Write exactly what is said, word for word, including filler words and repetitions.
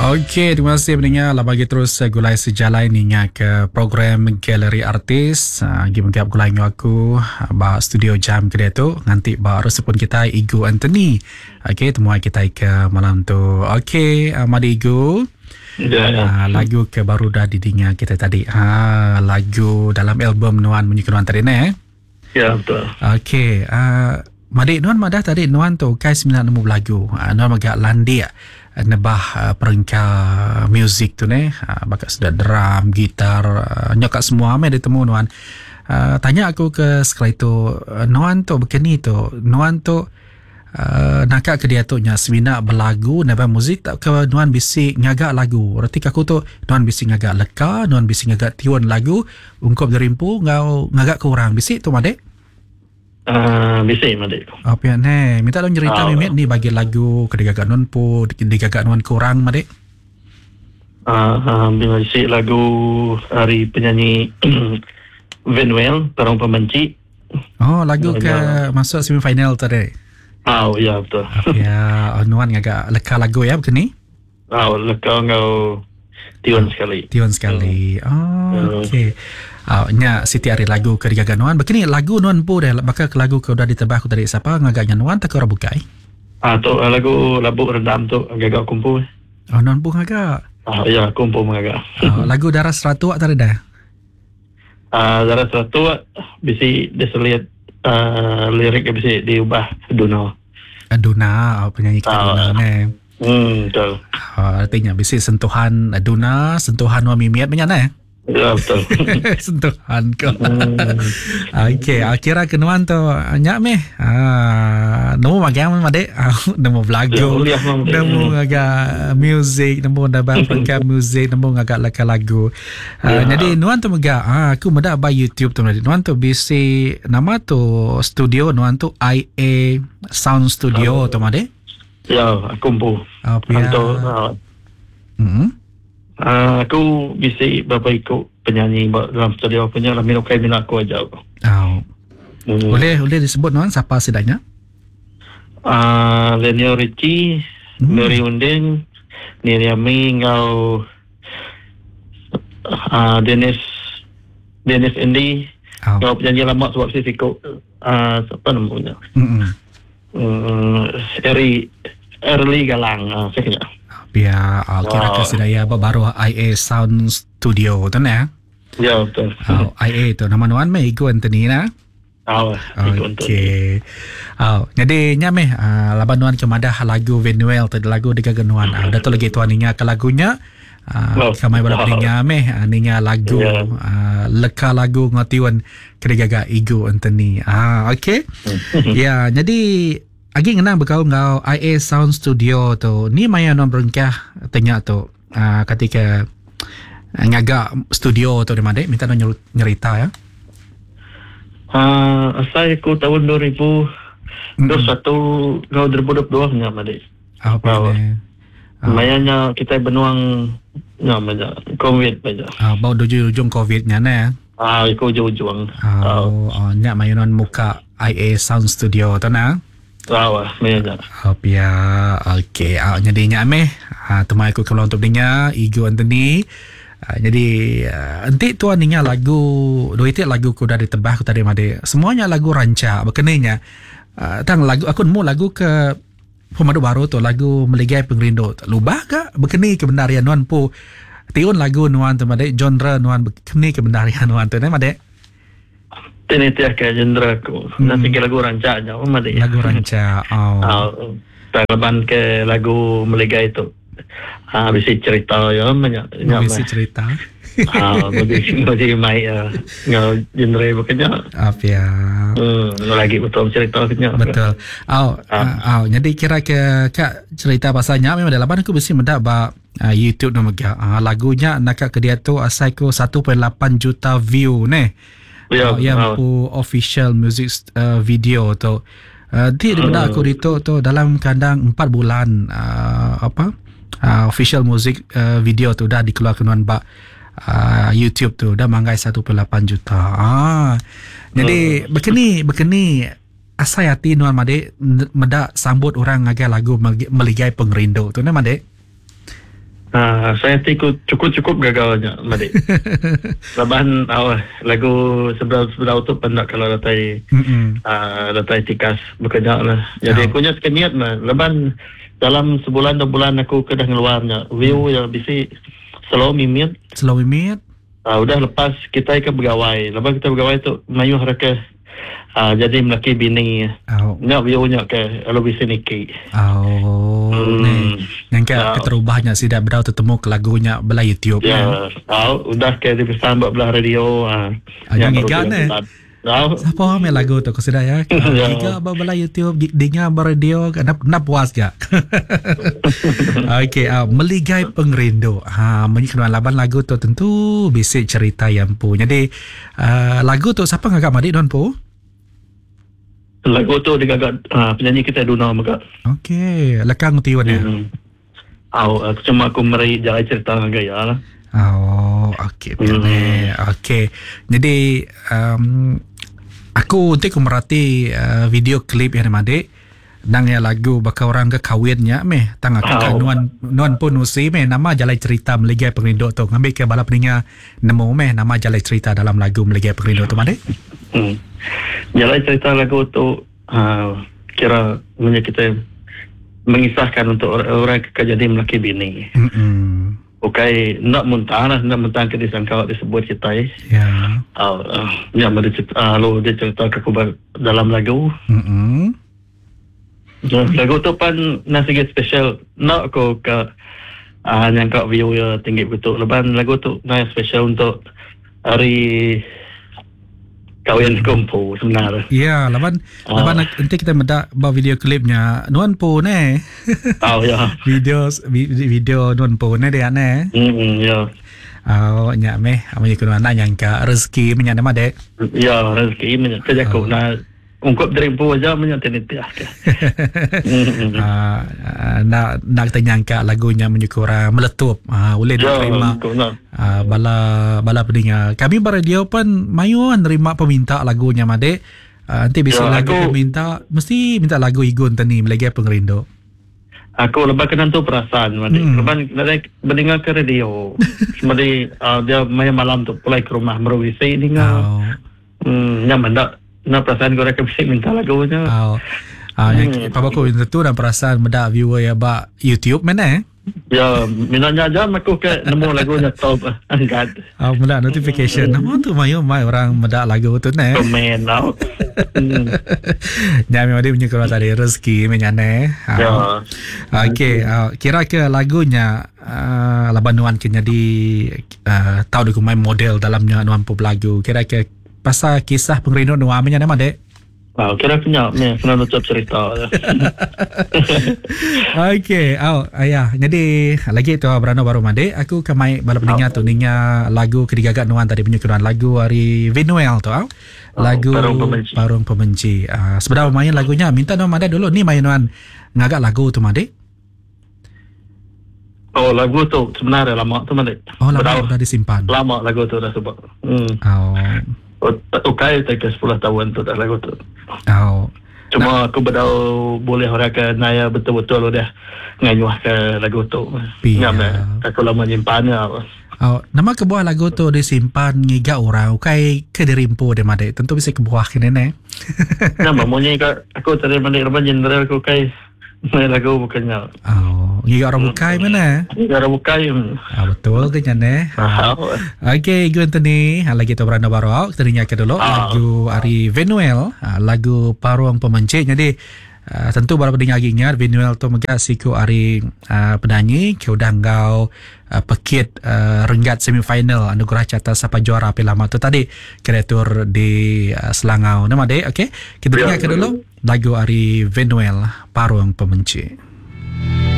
Okey, terima kasih pendengar lah bagi terus uh, gulai sejalai ninga ke program Galeri Artis. Uh, gi mengkap gulai ngau aku uh, ba studio jam ke dia tu nganti ba resepun kita Igu Anthony. Okey, temuai kita ke malam tu. Okey, uh, madi Igu. Ya, ya. Uh, lagu ke baru dah didinga kita tadi. Ha, lagu dalam album Nuan Munyi Nuan tadi ne. Ya, betul. Okey, uh, Madik Nuan madah tadi Nuan tu kai sembilan nemu lagu. Uh, Nuan agak landik nebah uh, perengka muzik tu ne, uh, bakat sudah drum, gitar, uh, nyokak semua ame ditemu Nuan. Uh, tanya aku ke sekali tu, uh, Nuan tu begini tu, Nuan tu uh, nakak ke dia tu nya semina belagu nebah muzik tak ke Nuan bisi ngagak lagu. Reti aku tu Nuan bisi ngagak leka, Nuan bisi ngagak tiun lagu ungkup derimpu ngau ngagak ke orang bisi tu madik. Uh, bisi madik. Apa yang ni? Minta dong cerita Ah. mimit ni bagi lagu ke digagak nuan pu, digagak nuan kurang madik. Ah, uh, bisi lagu hari penyanyi Venuel, Perang Pembenci. Oh, lagu ke Ya. masuk semifinal tadi. Ah, oh, ya betul. Ya, oh, nuan ngagak leka lagu ya begini. Ah, leka ngau tiun sekali. Tiun sekali. Oh, Hmm. okey. Ah, nya Siti Ari lagu ke digagak nuan. Begini lagu nuan pu dah bakal ke lagu ke udah ditebah aku tadi siapa ngagaknya nuan tak ke orang bukai? Ah, tu ah, lagu Labuk Rendam tu gagak kumpul. Oh, nuan pu ngagak. Ah, ya kumpul mengagak. Oh, lagu Darah Seratu tadi dah. Ah, darah seratu bisi diseliat ah, lirik bisi diubah Duno. Duna, oh, penyanyi kita Ah. Duna ne. Hmm, betul. Oh, artinya bisi sentuhan Duna, sentuhan wa mimiat banyak ne. Ya, betul. Sentuhan ko. Hmm. Okey, ah, kira kenuan tu nyak meh. Ah, nemu magang meh adik. Ah, nemu belagu. Ya, uliah memang. Nemu agak music, nemu dah perengka music, nemu agak laka lagu. Ah, Ya. jadi nuan tu mega, ah, aku meda ba YouTube tu adik. Nuan tu bisi nama tu studio nuan tu I A Sound Studio tu adik. Ya, aku empu. Apa ya? Untuk ah, Hmm. ah, aku bisi berapa ikut penyanyi ba- dalam studio punya lah minum kai minat aku aja. Oh. Hmm. Boleh boleh disebut nuan siapa sidanya? Ah, Lenio Ricci, Hmm. Mary Unding, Niriami ngau ah, Dennis Dennis Andy, Oh. ngau penyanyi lama sebab si sikut ah, siapa namanya? Hmm. Hmm, Eri Early Galang, ah, saya kira. Biar oh, kira Wow. ke sidaya baru I A Sound Studio tu ne. Ya, betul. Oh, I A tu nama nuan meh Igu Anthony na. Ah, ikut untuk. Okey. Oh, jadi nya meh uh, laban nuan ke madah lagu Venuel tu lagu dekat nuan. Ah, dah tu lagi tuan ninga ke lagunya. Uh, Oh. kamai bala Wow. ninga meh uh, ninga lagu Ya. uh, leka lagu ngatiwan kena Igu Anthony. Ah, okey. Ya, jadi agi ngenang bekau ngau I A Sound Studio tu. Ni maya nuan berengkah tanya tu uh, ketika ngagak studio tu di mana minta nuan nyeru- nyerita ya. Ah, asal aku tahun dua ribu dua puluh satu ngau dua ribu dua puluh dua nya madik. Apa Wow. ni? Ah. Mayanya kita benuang nya banyak COVID banyak. Ah, bau ujung ujung COVID nya ne. Ah, ikut ujung-ujung. Ah, Oh, oh nyak maya nuan muka I A Sound Studio tu na. ah, mayanya. Oh, ya, okey. Ah, jadi nyak meh. Ah, temai aku keluar untuk dengar Igu Anthony. Ah, jadi ah, enti tuan ninga lagu dua itik lagu ku dah ditebah aku tadi made. Semuanya lagu rancak berkenanya. Ah, tang lagu aku nemu lagu ke pemadu baru tu lagu Meligai Pengerindu. Lubah ke berkeni kebenarian nuan pu tiun lagu nuan tu made genre nuan berkeni kebenarian nuan tu ne made. Ini tiap ke genre aku. Hmm. Nanti ke lagu rancak nya, madik. Lagu rancak. Oh. Ah, Taliban ke lagu Meligai itu. Ah, bisi cerita ya banyak. Nya Bisi cerita. Ah, bagi bagi mai ah, ngau genre bukannya. Apa ya? Hmm, lagi betul cerita kenya. Betul. Oh, ah. oh, jadi kira ke kak cerita pasalnya memang dalam aku mesti mendak ba uh, YouTube nama gak. Ah, lagunya nak ke dia tu asai ku satu perpuluhan lapan juta view ne. Ya, Oh, yang ah. pu official music uh, video tu. Uh, di uh. aku itu tu dalam kandang empat bulan uh, apa uh, official music uh, video tu dah dikeluarkan nuan ba uh, YouTube tu dah manggai satu perpuluhan lapan juta. Ah. Jadi uh. berkeni berkeni asai hati nuan madik medak sambut orang ngagai lagu Meligai Pengerindu tu ne madik. Ah, saya tiku cukup-cukup gagalnya, Madik. Laban oh, lagu sebelah-sebelah tu pendak kalau datai uh, datai tikas bekerja lah. Jadi oh. Aku nya sekeniat mah. Laban dalam sebulan dua bulan aku kedah ngeluarnya view ya bisi slow mimit. Slow mimit. Uh, udah lepas kita ke begawai. Lepas kita begawai tu mayuh reka uh, jadi melaki bini. Oh. Nyak view nya ke lalu bisi niki. Oh. Hmm. Yang ke oh. Keterubahnya sidak berau tetemu ke lagunya belah YouTube. Ya, oh, udah ke dipesan buat belah radio. Ah, uh, yang ngiga ne. Oh. Siapa ambil lagu tu kau sudah ya? Giga belah YouTube, dengar radio, nak nak puas gak? Okey, uh, Meligai Pengerindu. Ha, menyiknuan laban lagu tu tentu bisik cerita yang pu. Jadi uh, lagu tu siapa ngagak madik don pu? Lagu tu digagak uh, penyanyi kita Duna mega. Okey, lekang tiun ya. Hmm. Au, aku cuma aku meri jalan cerita dengan gaya lah. Oh, okey. Hmm. Okey. Jadi um, aku nanti aku merhati uh, video klip yang madik nang ya lagu bakal orang ke kawinnya meh tang aku oh. nuan nuan pun usi meh nama jalan cerita Meligai Pengerindu tu ngambil ke bala peninga nemu meh nama jalan cerita dalam lagu Meligai Pengerindu tu madik. Hmm. Jalan cerita lagu tu uh, kira punya kita mengisahkan untuk orang ke jadi melaki bini. Hmm. Okey, nak muntah lah, nak muntah ke disangka disebut kita eh. Ya. Uh, uh, ya, dia cerita, uh, lalu dia cerita ke aku dalam lagu. Hmm. Lagu tu pun nasi special. Nak aku ke uh, nyangka view ya tinggi betul. Lepas lagu tu nasi special untuk hari kahwin kumpul sebenarnya. Ya, laban uh. laban nanti kita mendak ba video klipnya nuan po ne. Oh ya. Video video nuan po ne dia ne. Hmm ya. Oh nya meh amun kuno anak nyangka rezeki menya nama dek. Ya, rezeki menya kerja aku na ungkup dari po aja menya tenitia. Ah nak nak kita nyangka lagunya menyukura meletup. Ah boleh diterima. Uh, bala bala pendengar. Kami beradio pun mayu nerima peminta lagunya madek. Uh, nanti bisa ya, lagu aku, peminta mesti minta lagu Igun tani Meligai Pengerindu. Aku lebih kena tu perasaan madek. Hmm. Lepas nak mendengar ke radio. Semadi uh, dia main malam tu pulai ke rumah meruisi dengar. Oh. Hmm, nyaman tak? Nak perasaan kau reka mesti minta lagunya. Oh. Ah, uh, hmm. Papa aku tentu dan perasaan mendak viewer ya bak YouTube mana eh? Ya, minatnya aja aku ke nemu lagunya top angkat. Ah, oh, mendak notification. Nama tu mayu mai orang mendak lagu tu ne. Komen tau. Ya, memang dia punya keluar tadi rezeki menyane. Ya. Okey, uh, kira ke lagunya uh, laban nuan ke jadi uh, tahu dia main model dalamnya nuan pun lagu. Kira ke pasal kisah pengerindu nuan menyane mak dek? Wow, kira punya ni kena nutup cerita. Okey, oh ayah. Jadi lagi tu Brano baru mandi, aku ke mai bala pendengar tu ninga lagu kedigagak nuan tadi punya kenuan lagu hari Vinuel tu au. Lagu oh, Parung Pembenci. Parung Pembenci. Uh, sebenarnya main lagunya minta nuan mandi dulu ni main nuan ngagak lagu tu mandi. Oh, lagu tu sebenarnya lama tu mandi. Oh, lama dah disimpan. Lama lagu tu dah sebab. Hmm. Oh. Okey, tak ke sepuluh tahun tu dah lagu tu. Oh. Cuma nah. Aku bedau boleh orang ke naya betul-betul udah ngayuh ke lagu tu. Ngam aku lama nyimpannya. Oh, nama kebuah lagu tu disimpan ngiga orang ukai ke dirimpu dia madek. Tentu bisa kebuah kene ne. Nama munyi ka aku tadi mandi leban general aku kai main lagu bukannya. Oh, ngiga orang bukai mana? Ngiga orang bukai. Ah, betul ke nyane? Okey, Igu Anthony, lagi tu beranda baru. Kita dengar ke dulu ah. Lagu Ari Venuel, lagu Parung Pembenci. Jadi uh, tentu baru pendengar lagi ingat Venuel tu mega siku Ari uh, penyanyi ke udah ngau uh, pekit uh, renggat semifinal anugerah carta sapa juara api lama tu tadi kreatur di uh, Selangau. Nama dek, okey. Kita dengar ke dulu lagu Ari Venuel Parung Pembenci.